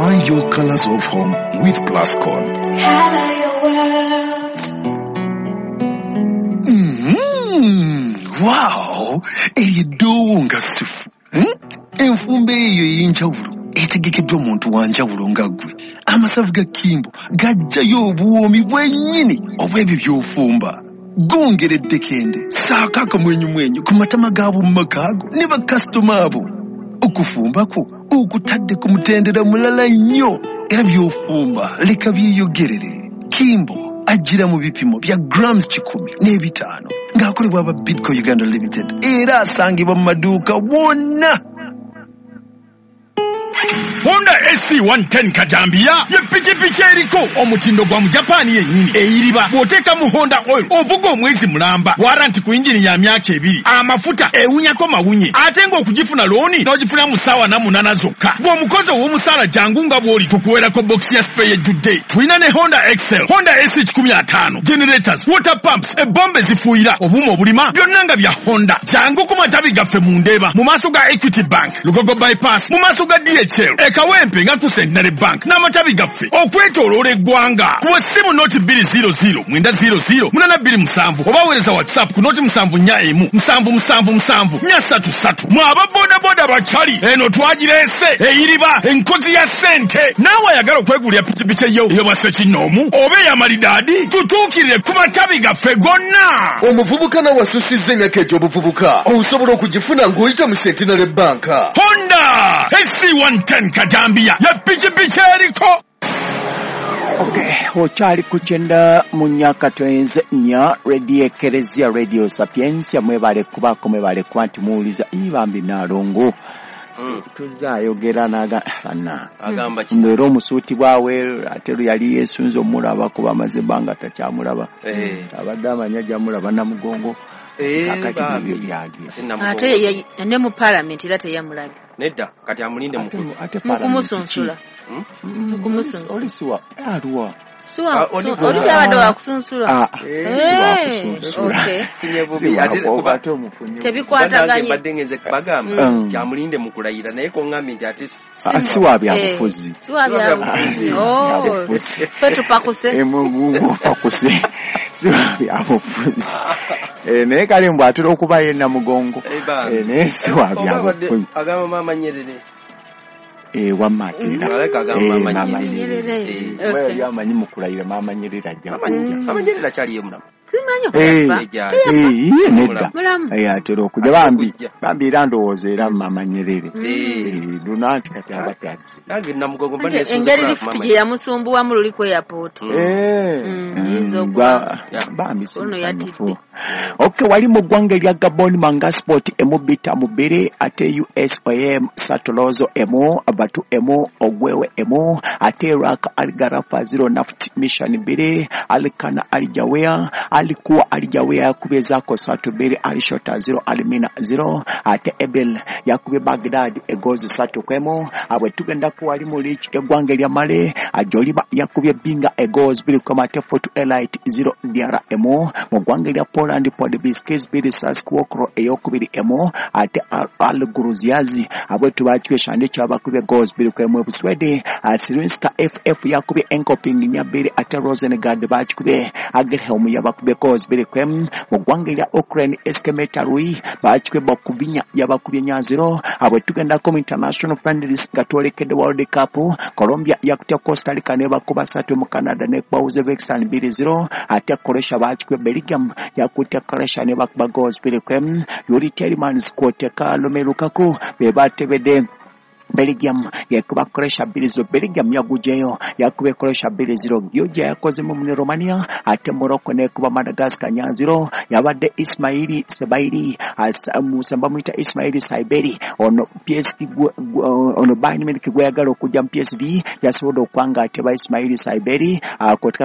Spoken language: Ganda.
Find your colors of home with Plascon. Color your world. Wow! Eryo eddoowo nga sifu. Enfumba eyo ey'enjawulo etegekeddwa omuntu wa njawulo nga ggwe. Amasavu ga Kimbo gajjayo obuwoomi bwennyini obw'ebyo by'ofumba. Gongera eddekende, ssaako akamwenyumwenyu ku matama g'ab'omu maka go ne bakasitoma abo. Okufumba kwo okutadde ku mutendera mulala nnyo era by'ofumba leka byeyogerere. Kimbo ajjira mu bipimo bya grams 105 ng'akolebwa aba Bidco Uganda Limited era asangibwa mu maduuka wonna. Honda AC 110 Kajambiya ye pikipiki eriko omutindo gwa Mujapani yennyini eyiriba bw'oteeka mu Honda oil ovuga omwezi mulamba waranti ku yingini ya myaka 2 amafuta ewunyako mawunye ate ng'okugifuna looni n'ogifuna mu ssaawa 8 zokka bw'omukozi ow'omusaala jangu nga bw'oli tukuweerako bokisi ya spare ejjudde. Tulina ne Honda Excel, Honda AC 105, generators, water pumps, ebombe zifuuyira, obuuma obulima byonna nga bya Honda. Jangu ku matabi gaffe mu Ndeeba mu maaso ga Equity Bank, Lugogo Bypass, mu maaso ga DHL, Kawempe nga ku Centenary Bank n'amatabi gaffe okwetooloola eggwanga. Kuba essimu noti 200 900 827 oba weereza WhatsApp ku noti 741 777 433. Mwe aba bodaboda bakyali eno twagireese eyiriba enkozi ya ssente. Naawe ayagala okwegulira pikipiki eyo ey'obwassekinnoomu oba ey'amalidaadi tutuukirire ku matabi gaffe gonna. Omuvubuka nawe asusizza emyaka egy'obuvubuka osobola okugifuna ng'oyita mu Centenary Bank. Honda AC 110 Kajambiya ya pikipiki eriko. Okay, okyali ku 94.4 Radio Ekereziya, Radio Sapiensia. Mwebale kubaako, mwebale kuba nti muwuliza ibambi Naalongo. Tuzayogera naga bana agamba ki era omusuuti bwawe ate lwe yali yeesunze omulaba kuba amaze ebbanga takyamulaba. Abadde amanya ajamulaba Namugongo. Kakati ebyo byali ate ne mu parliament era teyamulabye. Nedda kati amulinde mukumusunsula. Mukumusunsula oli siwa aluwa siwa oli kyabadde wakusunsula. Tebikwataganye mbadde ngenze bagamba kyamulinde mukulayira naye koŋŋambye nti ate si wa byabufuzi. Si wa byabufuzi. Ffe tupakuse. Mupakuse. Si wa byabufuzi. Naye kale mbw atera okuba ye Namugongo. Naye si wa byabufuzi. Agamba Maama Nyerere. Wamma atera. Maama Nyerere. Yali amanyi mu kulayira Maama Nyerere ajja kujja. Maama Nyerere akyaliyo mulamu. Simanyi okufa. Nedda. Atera okujja bambi. Bambi era ndowooza era Maama Nyerere. Luna nti kati abadde azze. Nange Namugongo mba neesunze engeri lifuti gye yamusumbuwamu luli ku airport. Bambi si musanyufu. Okay, wali mu ggwanga erya Gabon Manga Sport emu bita mubiri ate USOM Satolozo emu Batu emu Ogwewe emu ate Iraq Algarafa 0 Naft Mission 2 Alkana Aljawea alikuwa Aljawea yakubye zako 3-2 Alishota 0 Almina 0 ate Ebel yakubye Baghdad egozi 3-1 abwe tugenda ku wali mu lichi eggwanga erya Mali Ajoliba yakubye Binga egozi 2 ate Fort Elite 0 Diara emu mu ggwanga erya Poland Podbiskis 2 Saskowokro eyokubiri emu ate Al-Guruziazi abwetu bakibye Shande kyabakubye goals 2-1 Buswede Sirinska FF yakubye Enkoping 2 ate Rosengard bakikubye Agelhelm yabakubye goals 2-1 mu ggwanga erya Ukraine Eskemeta Rui bakikubye Bokuvinya yabakubye 4-0 abwe tugendako mu international friendlies nga twolekedde World Cup Colombia yakutya Costa Rica ne bakuba 3 mu Canada ne kuba Uzbekistan 2-0 ate Croatia bakikubye Belgium yakutya Croatia ne bakuba goals 2-1 Yuri Tielemans kwoteka Romelu Lukaku be batebedde Belgium yakuba Croatia 2-0. Belgium yagujeyo yakubye Croatia 2-0. Georgia yakozemu mu Romania ate Morocco nekuba Madagascar 4-0. Yabadde Ismaili Sebairi bamuyita Ismaili Saiberi ono PSV ono Bayern Munich gweyagala okujja mu PSV yasobodde okwanga ateba Ismaili Saiberi.